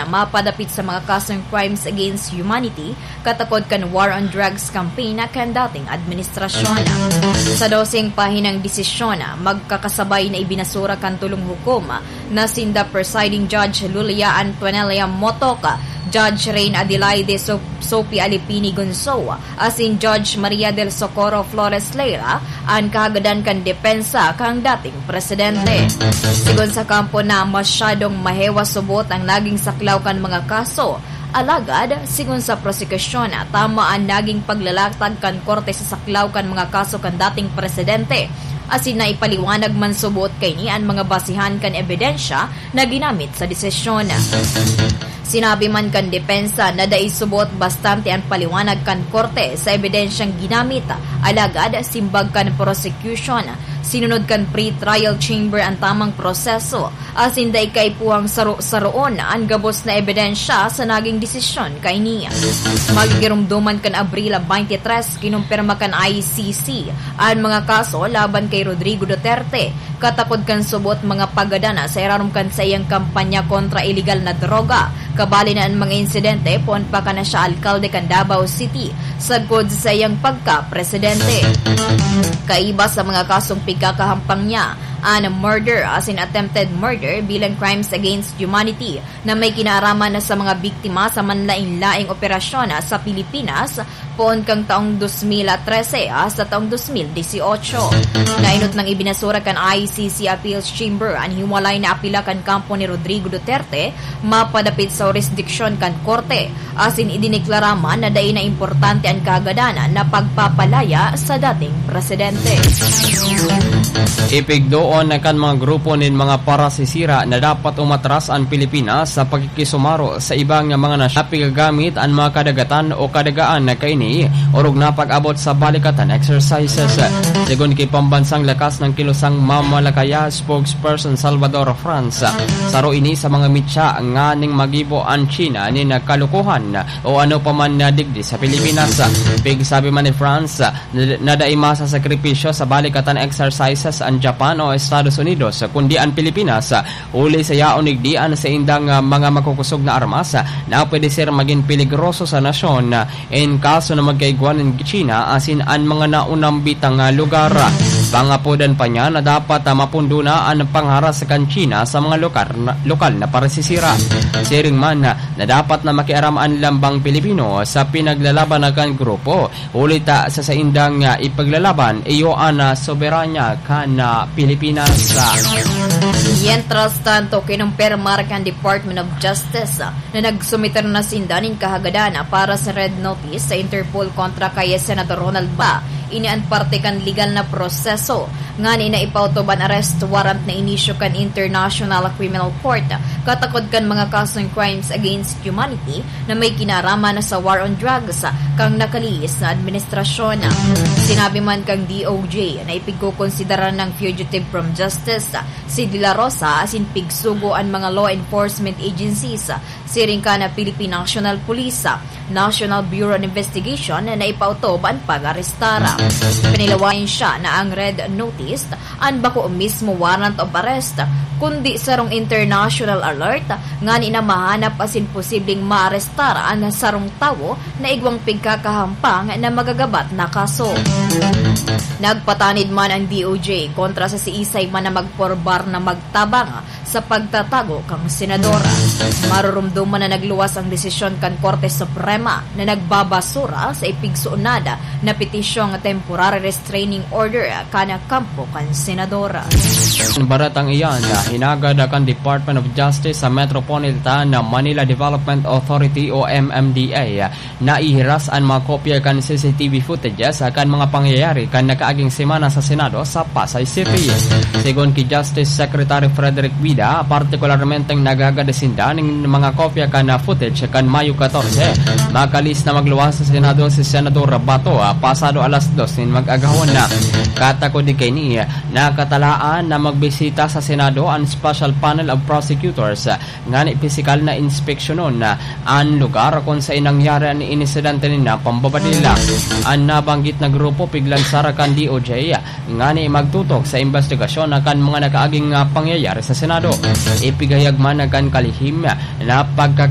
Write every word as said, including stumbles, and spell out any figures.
mapadapit sa mga kasong crimes against humanity, katakod kan war on drugs campaign na kan dating administrasyon. Sa doseng pahinang desisyon, magkakasabay na ibinasura kan tulong hukom na sinda Presiding Judge Lulia Antonella Motoc, Judge Rain Adelaide So-, Sophie Alipini Gonzo, asin Judge Maria del Socorro Flores Leira, an kahagadan kan depensa kan dating presidente. Sigon sa kampo na masyadong mahewa subot ang naging saklaw kan mga kaso. Alagad, sigon sa prosekusyon, tama an naging paglalatag kan korte sa saklaw kan mga kaso kan dating presidente, asin naipaliwanag man subot kaini an mga basehan kan ebidensya na ginamit sa desisyon. Sinabi man kan depensa na dai subot bastante an paliwanag kan korte sa ebidensyang ginamit, alagad simbag kan prosecution, sinunod kan pre-trial chamber an tamang proseso, asin dai kaipuhang saro-saroon an gabos na ebidensya sa naging desisyon kaini. Magigiromdoman kan Abril twenty-three, kinumpirma kan I C C an mga kaso laban kay Rodrigo Duterte, katakod kan subot mga paggadana sa irarom kan saiyang kampanya kontra iligal na droga. Kabali na an mga insidente poon pa kan siya alkalde kan Davao City, sagkod sa saiyang pagka-presidente. Kaiba sa mga kasong pigkakahampang niya, an murder asin attempted murder bilang crimes against humanity na may kinaaraman na sa mga biktima sa manlain-laing operasyon sa Pilipinas, poon kan taong dos mil trese hasta taong dos mil dieciocho. Nainot nang ibinasura kan I C C Appeals Chamber an hiwalay na apela kan kampo ni Rodrigo Duterte mapadapit sa hurisdiksyon kan korte, asin idineklara man na dai na importante an kahagadan na pagpapalaya sa dating presidente. Ipigdoon na kan mga grupo nin mga parasisira na dapat umatras an Pilipinas sa pakikisumaro sa iba nga mga nasyon na pigagamit an mga kadagatan o kadagaan na kaini, orog na pag-abot sa balikatan exercises. Segun ki Pambansang Lakas ng Kilusang Mamalakaya spokesperson Salvador Franz, saro ini sa mga mitya nganing magibo an China nin kalokohan o ano pa man na digdi sa Pilipinas. Pigsabi man ni Franz, na dai masasakripisyo sa balikatan exercises an Japan o Estados Unidos, kundi an Pilipinas, huli sa yaon digdi an saindang, ah, mga makukusog na armas na pwede ser magin peligroso sa nasyon, in kaso na magkaigwa nin China asin an mga naunang bitang, ah, lugar. Pangapodan pa niya na dapat, ah, mapundo na an pangharas kan China sa mga lokar na, lokal na parasisira. Siring man, ah, na dapat na makiaram an lambang Pilipino sa pinaglalaban na kan grupo, huli ta sa saindang, ah, ipaglalaban, iyo an, ah, soberanya kan, ah, Pilipinas. Mientras tanto, kinumpirmar kan Department of Justice, ah, na nagsumiter na sinda nin kahagadan, ah, para sa Red Notice sa Interpol kontra kay Senador Ronald Ba. Ini an parte kan legal na proseso ngani na ipautob an arrest warrant na inisyu kan International Criminal Court, katakod kan mga kasong crimes against humanity na may kinaraman sa war on drugs kan nakalihis na administrasyon. Sinabi man kan D O J na ipigkokonsidera ng fugitive from justice si De La Rosa asin pigsugo an mga law enforcement agencies, siring kan Philippine National Police, National Bureau of Investigation na ipautob an pag-arestar. Pinilawayan siya na ang red notice an bako mismo warrant of arrest, kundi sarong international alert ngani na mahanap asin posibleng maarestar an sarong tawo na igwang pigkakahampang na magagabat na kaso. Nagpatanid man ang D O J kontra sa siisay man na magporbar na magtabang sa pagtatago kan senador. Marurumduman na nagluwas ang desisyon kan Korte Suprema na nagbabasura sa ipigsuunad na petisyong temporary restraining order kan kampo kan senador. Baretang iyan, hinagad kan Department of Justice sa Metropolitan Manila Development Authority o M M D A na ihiras an mga kopya kan C C T V footages kan mga pangyayari kan nakaaging semana sa Senado sa Pasay City. Segun ki Justice Secretary Frederick Vida, partikularmenteng naghagad sinda nin mga kopya kan footage kan Mayo catorce, makalis na magluwas sa Senado si Senador Bato, ah, pasado alas dos nin mag-agahon. Katakod di kaini, nakatalaan na magbisita sa Senado an Special Panel of Prosecutors ngani pisikal na inspeksyonon an lugar kun saen nangyari an insidente nin pambabadil. An nabanggit na grupo piglansar kan D O J ngani magtutok sa imbestigasyon kan mga nakaaging, ah, pangyayari sa Senado. Ipigayag man kan kalihim na pagka-